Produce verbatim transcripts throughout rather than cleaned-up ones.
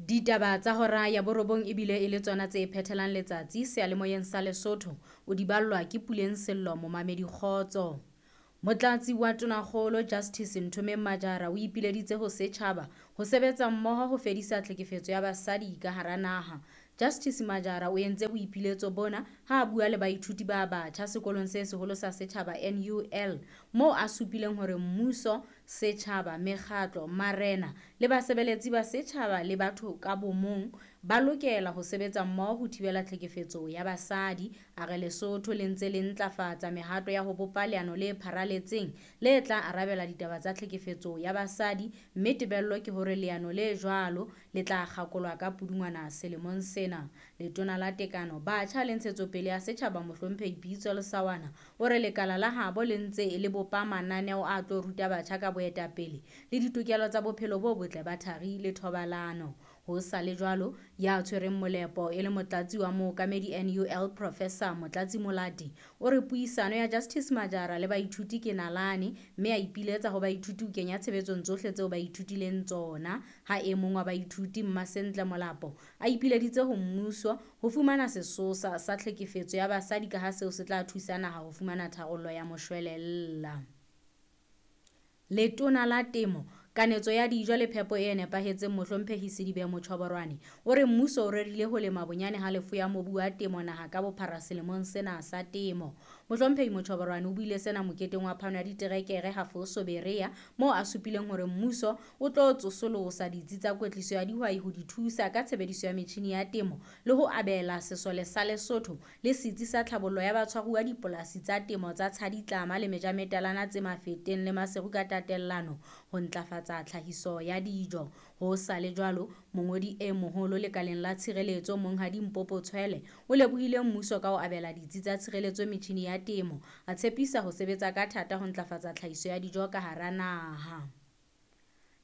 Ditaba tsa hora ya borobong ebile e le tsona tse phethelang letsatsi seyalemoyeng sa Lesotho. O di ballwa ke Puleng Sello momamedi kgotso. Motlatsi wa Tonakgolo Justice Nthomeng Majara o ipileditse ho setjhaba ho sebetsa mmoho ho fedisa tlhekefetso ya basadi ka hara naha. Justice Majara o entse boipiletso bona ha a bua le baithuti ba batjha sekolong se seholo sa setjhaba N U L moo a supileng hore mmuso, setjhaba, mekgatlo, marena le basebeletsi ba setjhaba le batho ka bomong ba lokela ho sebetsa mmoho ho thibela tlhekefetso ya basadi. A re Lesotho le ntse le ntlafatsa mehato ya ho bopa leano le pharaletseng le tla arabela ditaba tsa tlhekefetso ya basadi, mme tebello ke hore leano le jwalo le tla kgakolwa ka Pudungwana selemong sena. Letona la Tekano, Batjha le Ntshetsopele ya Setjhaba Mohlomphehi Pitso Lesawana o re lekala la habo le ntse le bopa mananeo a tlo ruta batjha ka boetapele le ditokelo tsa bophelo bo botle ba thari le thobalano. Ho sa le jwalo, ya tshwereng molepo e le motlatsi wa mookamedi N U L Professor Motlatsi Molati o re puisano ya Justice Majara le baithuti ke nalane, mme a ipiletsa ho baithuti ho kenya tshebetsong tsohle tseo ba ithutileng tsona. Ha e mong wa baithuti Mmasentle Molapo a ipileditse ho mmuso ho fumana sesosa sa tlhekefetso ya basadi ka ha seo se tla thusa naha ho fumana tharollo ya moshwelella. Letona la Temo, Kanetso ya dijo le phepo e nepahetseng Mohlomphehi Sedibe Motjhoborwane o re mmuso o rerile ho lema bonyane halofo ya mobu wa temo naha ka bophara selemong sena sa temo. Mohlomphehi Motjhoborwane o buile sena moketeng wa phano ya diterekere Hafoso Berea moo a supileng hore mmuso o tlo tsosolosa ditsi tsa kwetliso ya dihwai ho di thusa ka tshebediso ya metjhini ya temo le ho abela sesole sa Lesotho le setsi sa tlhabollo ya batshwaruwa dipolasi tsa temo tsa Tshaditlama le Mejametalana tse Mafeteng le Maseru ka tatellano ho ntlafatsa tsa tlhahiso ya dijo. Ho sa le jwalo, mongodi e moholo lekaleng la tshireletso Monghadi Mpopo Tshwele o lebohile mmuso ka ho abela ditsi tsa tshireletso metjhini ya temo, a tshepisa ho sebetsa ka thata ho ntlafatsa tlhahiso ya dijo ka hara naha.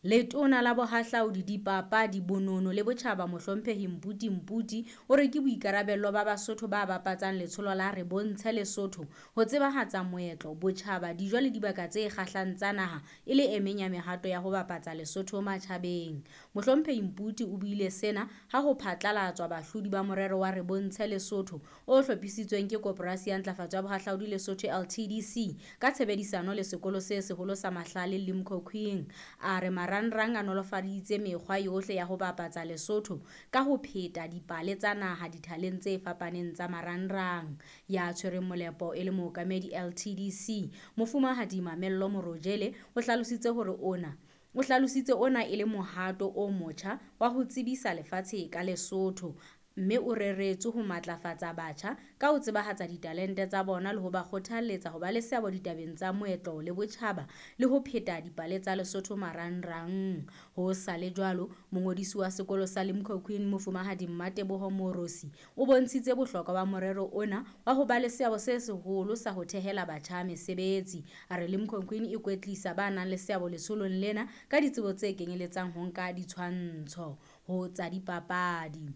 Letona la Bohahlaudi, Dipapadi, Bonono le Botjhaba Mohlomphehi Mputi Mputi o re ke boikarabello ba Basotho ba bapatsang letsholo la Re Bontshe Lesotho ho tsebahatsa moetlo, botjhaba, dijo le dibaka tse kgahlang tsa naha e le e meng ya mehato ya ho bapatsa Lesotho matjhabeng. Mohlomphehi Mputi o buile sena ha ho phatlalatswa bahlodi ba morero wa Re Bontshe Lesotho o hlophisitsweng ke Koporasi ya Ntlafatso ya Bohahlaudi Lesotho L T D C ka tshebedisano le sekolo se seholo sa Mahlale Limkokwing. A re marangrang a nolofaditse mekgwa yohle ya ho bapatsa Lesotho ka ho pheta dipale tsa naha dithaleng tse fapaneng tsa marangrang. Ya tshwereng molepo e le mookamedi L T D C Mofumahadi Mamello Morojele o hlalositse hore ona o hlalositse ona e le mohato o motjha wa ho tsebisa lefatshe ka Lesotho, mme o reretswe ho matlafatsa batjha ka ho tsebahatsa ditalente tsa bona le ho ba kgothalletsa ho ba le seabo ditabeng tsa moetlo le botjhaba le ho pheta dipale tsa Lesotho marangrang. Ho sa le jwalo, mongodisi wa sekolo sa Limkokwing Mofumahadi Mmateboho Morosi o bontshitse bohlokwa ba morero ona wa ho ba le seabo se seholo sa ho thehela batjha mesebetsi. A re Limkokwing e kwetlisa ba nang le seabo letsholong lena ka ditsebo tse kenyeletsang ho nka ditshwantsho ho tsa dipapadi.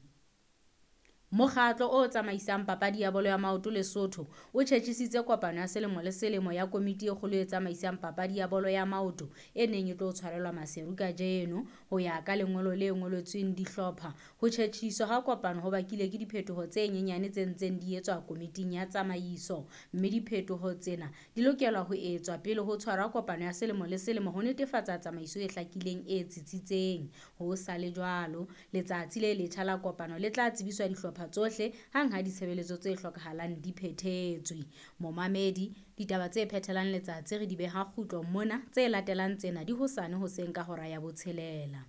Mokgatlo o tsamaisang papadi ya bolo ya maoto Lesotho o tjhetjhisitse kopano ya selemo le selemo ya komiti e kgolo e tsamaisang papadi ya bolo ya maoto e neng e tlo tshwarelwa Maseru kajeno. Ho ya ka lengolo le ngoletsweng dihlopha, ho tjhetjhiswa ha kopano ho bakile ke diphetoho tse nyenyane tse ntseng di etswa komiting ya tsamaiso, mme diphetoho tsena di lokelwa ho etswa pele ho tshwarwa kopano ya selemo le selemo ho netefatsa tsamaiso e hlakileng e tsitsitseng. Ho sa le jwalo, letsatsi le letjha la kopano le tla tsebiswa dihlopha tsohle hang ha ditshebeletso tse hlokahalang di phethetswe. Momamedi, ditaba tse phethelang letsatsi re di beha kgutlo mona, tse latelang tsena di hosane hoseng ka hora ya botshelela.